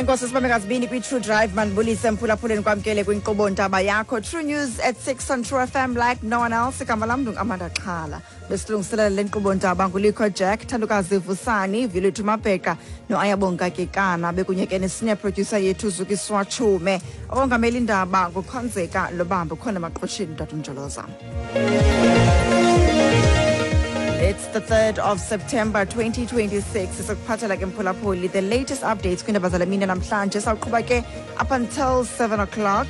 Enkosi sibambe ngazibini kwi-True Drive. Mandibulise mphulaphuleni, kwamkele kwinkqubo ntaba yakho True News at 6 on True FM like no one else. Igama lam ndinguAmanda Xhala. Besilungiselela le nkqubo ntaba nguLikho Jack, Thandukazi Vusani, Viluthu Mabheka noAyabonga Kekana, bekunye ke ne-senior producer yethu Zukiswa Chume. Ongameli indaba nguKhonzeka Lobambo, khona emaqhosheni Tata. It's the 3rd of September 2026. Sisokuphathela ke mphulaphuli the latest updates kwiindaba zale mini namhlanje. Sawuqhuba ke up until 7 o'clock.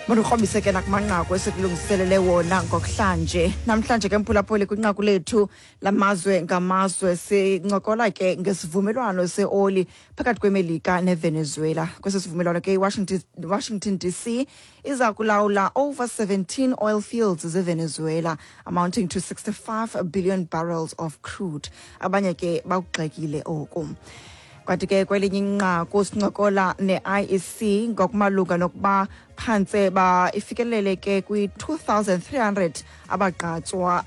Mandikrobise ke nakumanqaku esikulungiselele wona ngokuhlanje. Namhlanje ke mphulaphuli, kwinqaku lethu lamazwe ngamazwe sincokola ke ngesivumelwano seoli phakathi kweMelika neVenezuela. Kwesi sivumelwano ke iWashington DC iza kulawula over 17 oil fields zeVenezuela amounting to 65 billion barrels of crude. Abanye ke bakugxekile oku. Kwathi ke kwelinye inqaku sincokola ne-IEC ngokumalunga nokuba phantse ba ifikelele ke kwi-2300 abagqatswa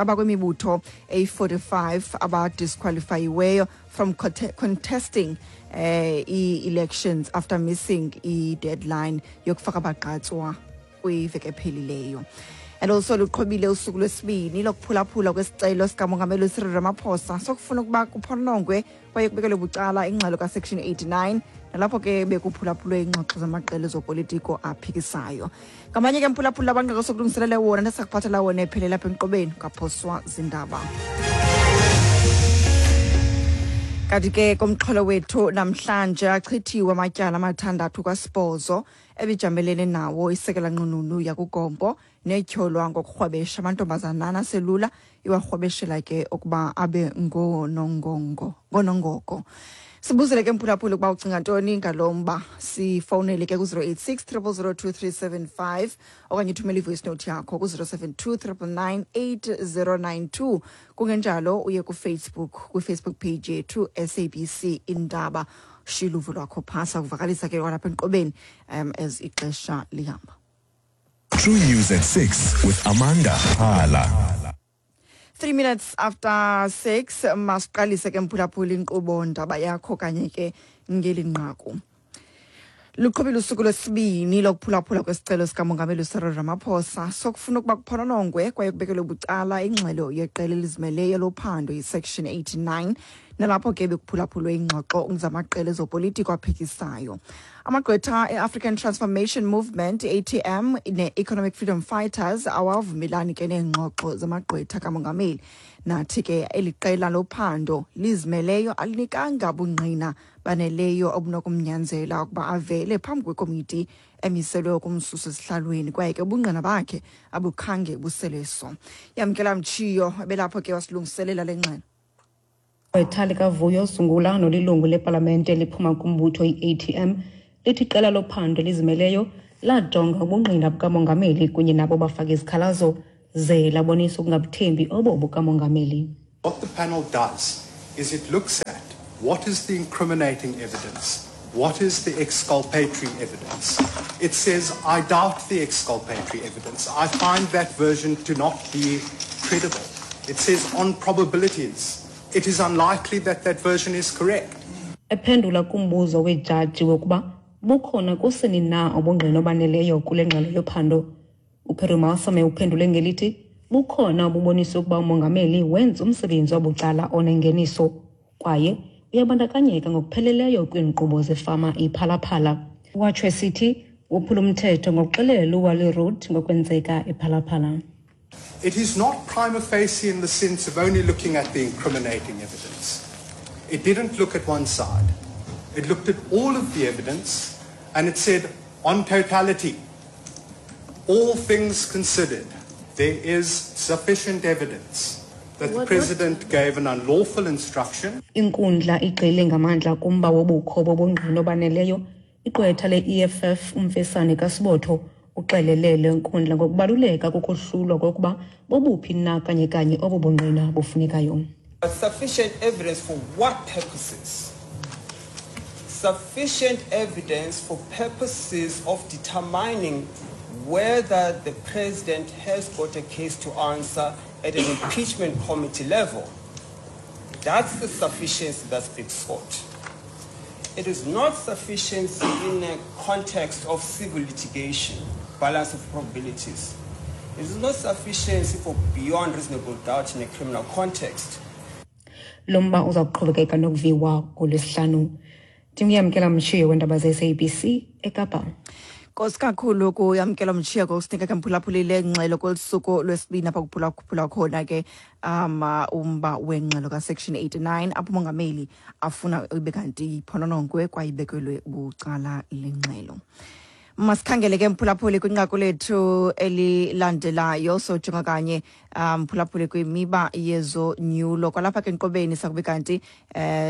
abakwimibutho eyi-45 abadisqualifayiweyo from contesting i-elections after missing i-deadline yokufaka abagqatswa kwiveki ephelileyo. And also luqhubile usuku lwesibini lokuphulaphula kwesicelo sikamongameli uCyril Ramaphosa sokufuna ukuba kuphonongwe kwaye kubekelwe bucala ingxelo kaSection 89, nalapho ke bekuphulaphulwe iingxoxo zamaqela ezopolitiko aphikisayo. Ngamanye ke mphulaphula abanqeko sokulungiselele wona nesakuphathela wona ephelela apha enkqubeni kaphoswa zindaba. Kanti ke komxholo wethu namhlanje, achithiwe amatyala amathandathu kwasibhozo ebijamelene nawo isekela nqununu yakuGompo netyholwa ngokurhwebesha amantombazanana aselula, iwarhwebeshela ke ukuba abe ngoonongongo ngoonongoko. Sibuzele ke mphulaphula ukuba ucinga ntoni ngalo mba. Sifowunele ke ku-086 000 2375 okanye uthumele ivoice note yakho ku-072 999 8092. Kungenjalo uye kuFacebook, kwiFacebook page yethu SABC Indaba, shiya uluvo lwakho phasa kuvakalisa ke kwalapha enkqubeni as ixesha lihamba. True News at 6 with Amanda Hala. 3 minutes after 6, masiqalise ke mphulaphula inkqubo ndaba yakho kanye ke ngeli nqaku. Luqhubile usuku lwesibini lokuphulaphula kwesicelo sikamongameli uCyril Ramaphosa sokufuna ukuba kuphononongwe kwaye kubekelwe bucala ingxelo yeqela elizimeleyo lophando iSection 89, nalapho ke bekuphulaphulwe ingxoxo zamaqela ezopolitiko aphikisayo. Amagqwetha e-African Transformation Movement, ATM, ne-Economic Freedom Fighters awavumelani ke neengxoxo zamagqwetha kamongameli, nathi ke eli qela lophando lizimeleyo alinikanga bungqina baneleyo obunokumnyanzela ukuba avele phambi kwekomiti emiselwe ukumsusa esihlalweni, kwaye ke ubungqina bakhe abukhange buseleso. Yamkela Mtshiyo ebelapho ke wasilungiselela le ngxelo. Igqwetha likaVuyo Zungula nolilungu lepalamente eliphuma kumbutho i-ATM lithi iqela lophando elizimeleyo lajonga ubungqina bukamongameli kunye nabo bafake izikhalazo, ze labonisa ukungabuthembi obo bukamongameli. What the panel does is it looks at what is the incriminating evidence, what is the exculpatory evidence. It says, "I doubt the exculpatory evidence. I find that version to not be credible." It says, on probabilities, it is unlikely that that version is correct. Ephendula kumbuzo wejaji wokuba bukhona kusini na ubungqina obaneleyo kule ngxelo yophando, uPerumalsame uphendule ngelithi bukhona obubonisa ukuba umongameli wenza umsebenzi wabucala onengeniso kwaye uyabandakanyeka ngokupheleleyo kwiinkqubo zefama iPhalaphala. Watsho esithi wophula umthetho ngokuxelela uWally Road ngokwenzeka ePhalaphala. It is not prima facie in the sense of only looking at the incriminating evidence. It didn't look at one side. It looked at all of the evidence and it said, on totality, all things considered, there is sufficient evidence that the president gave an unlawful instruction. Inkundla igxile ngamandla kumba wobukho bobungqina obaneleyo. Igqwetha le-EFF uMfesane kaSibotho uxelele le nkundla ngokubaluleka kokohlulwa kokuba bobuphi na kanye kanye obo bungqina bufunekayo. But sufficient evidence for what purposes? Sufficient evidence for purposes of determining whether the president has got a case to answer at an impeachment committee level. That's the sufficiency that's been sought. It is not sufficiency in a context of civil litigation, balance of probabilities. It is not sufficiency for beyond reasonable doubt in a criminal context. Lo mba uza kuqhubekeka nokuviwa ngoLwesihlanu. Ndinguyamkela Mtshiyo weendaba ze-SABC eKapa. Nkosi kakhulu kuyamkela Mtshiya ngokusinika ke mphulaphuli le ngxelo kweli suku lwesibini apha kuphulaphula khona ke um umba wengxelo kasection 89 apho umongameli afuna ibe kanti iphononongwe kwaye ibekelwe bucala le ngxelo. Masikhangele ke mphulaphuli kwinqaku lethu elilandelayo, sojonga kanye mphulaphuli kwimiba yezonyulo kwalapha ke enkqubeni. Sakube kanti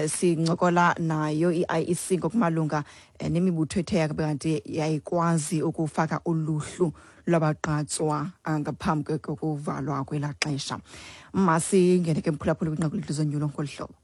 sincokola nayo i-IEC ngokumalunga nemibutho ethe yabe kanti yayikwazi ukufaka uluhlu lwabagqatswa ngaphambi kokuvalwa kwelaa xesha. Masingene ke mphulaphuli kwinqaku lethu zonyulo ngolu hlobo.